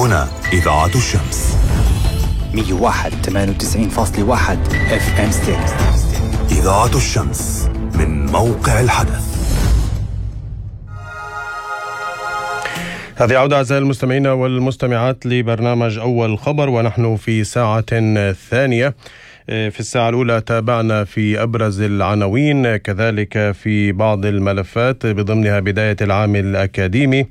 هنا إذاعة الشمس 101.98.1 FM ستيريو. إذاعة الشمس من موقع الحدث. هذه عودة أعزائي المستمعين والمستمعات لبرنامج أول خبر، ونحن في ساعة ثانية. في الساعة الأولى تابعنا في أبرز العناوين، كذلك في بعض الملفات بضمنها بداية العام الأكاديمي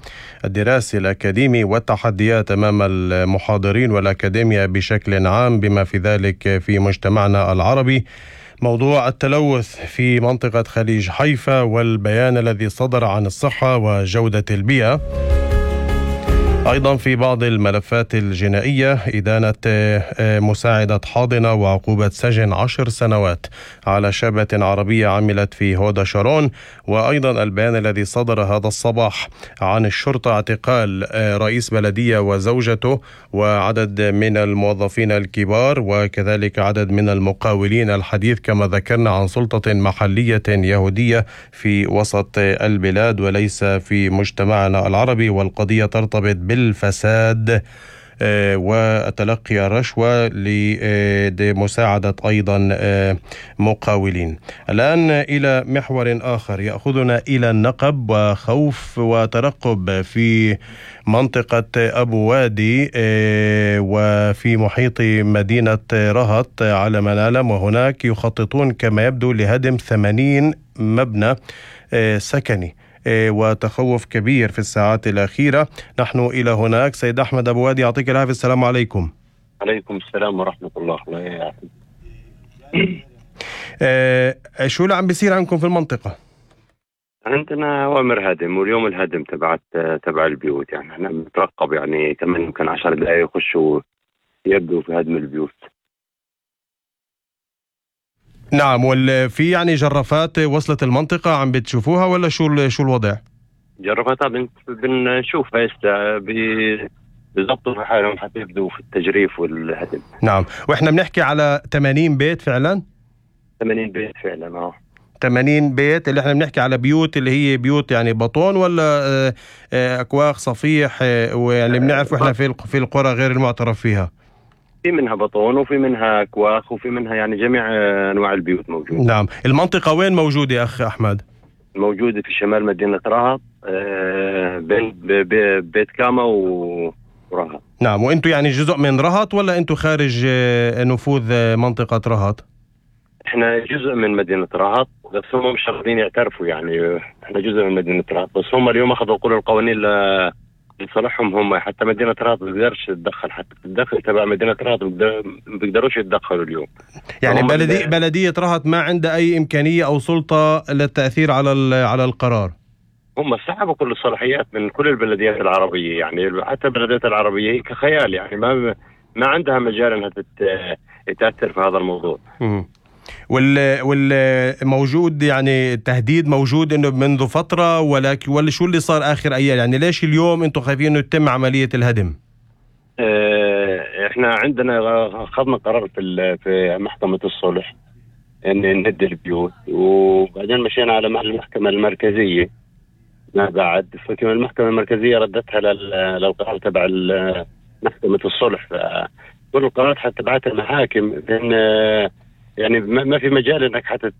الدراسي الأكاديمي والتحديات أمام المحاضرين والأكاديمية بشكل عام بما في ذلك في مجتمعنا العربي، موضوع التلوث في منطقة خليج حيفا والبيان الذي صدر عن الصحة وجودة البيئة. أيضا في بعض الملفات الجنائية إدانة مساعدة حاضنة وعقوبة سجن 10 سنوات على شابة عربية عملت في هودا شارون. وأيضا البيان الذي صدر هذا الصباح عن الشرطة اعتقال رئيس بلدية وزوجته وعدد من الموظفين الكبار وكذلك عدد من المقاولين، الحديث كما ذكرنا عن سلطة محلية يهودية في وسط البلاد وليس في مجتمعنا العربي، والقضية ترتبط بالفساد وتلقي الرشوة لمساعدة أيضا مقاولين. الآن إلى محور آخر يأخذنا إلى النقب وخوف وترقب في منطقة أبو وادي وفي محيط مدينة رهط على ما نعلم، وهناك يخططون كما يبدو لهدم 80 مبنى سكني وتخوف كبير في الساعات الأخيرة. نحن إلى هناك. سيد أحمد أبو وادي، يعطيك العافية. السلام عليكم. عليكم السلام ورحمة الله. شو اللي عم بيصير عندكم في المنطقة؟ عندنا أوامر هدم، واليوم الهدم تبع البيوت، يعني احنا بنترقب يعني كمان يمكن 10 دقائق يخشوا يبدوا في هدم البيوت. نعم، وفي يعني جرافات وصلت المنطقة عم بتشوفوها ولا شو الوضع؟ جرافات بنشوفها هسه بيضبطوا في حالهم حتى يبدوا في التجريف والهدم. نعم، واحنا بنحكي على 80 بيت فعلا؟ 80 بيت فعلا. 80 بيت اللي احنا بنحكي على بيوت اللي هي بيوت يعني بطون ولا أكواخ صفيح، ويعني بنعرف احنا في القرى غير المعترف فيها؟ في منها بطون وفي منها أكواخ وفي منها يعني جميع أنواع البيوت موجودة. نعم. المنطقة وين موجودة يا أخ أحمد؟ موجودة في شمال مدينة رهط بين بيت كاما ورهط. نعم. وأنتوا يعني جزء من رهط ولا أنتوا خارج نفوذ منطقة رهط؟ احنا جزء من مدينة رهط، بس هم مش راضيين يعترفوا، يعني احنا جزء من مدينة رهط، بس هم اليوم أخذوا كل القوانين لصالحهم هم. حتى مدينة رهط ما بتقدرش تتدخل، حتى الدخل تبع مدينة رهط ما بيقدروش يتدخلوا اليوم. يعني بلدية رهط ما عندها أي إمكانية أو سلطة للتأثير على القرار؟ هم سحبوا كل الصلاحيات من كل البلديات العربية، يعني حتى البلديات العربية هي كخيال، يعني ما عندها مجال أنها تأثر في هذا الموضوع. والموجود يعني التهديد موجود انه منذ فترة، ولا شو اللي صار اخر ايام؟ يعني ليش اليوم انتم خايفين انه يتم عملية الهدم؟ احنا عندنا اخذنا قرار في محكمة الصلح ان نهد البيوت، وبعدين مشينا على المحكمة المركزية ما بعد، فكما المحكمة المركزية ردتها للقرار تبع محكمة الصلح، فكل القرارات حتى تبعت المحاكم، لأن يعني ما في مجال انك حتى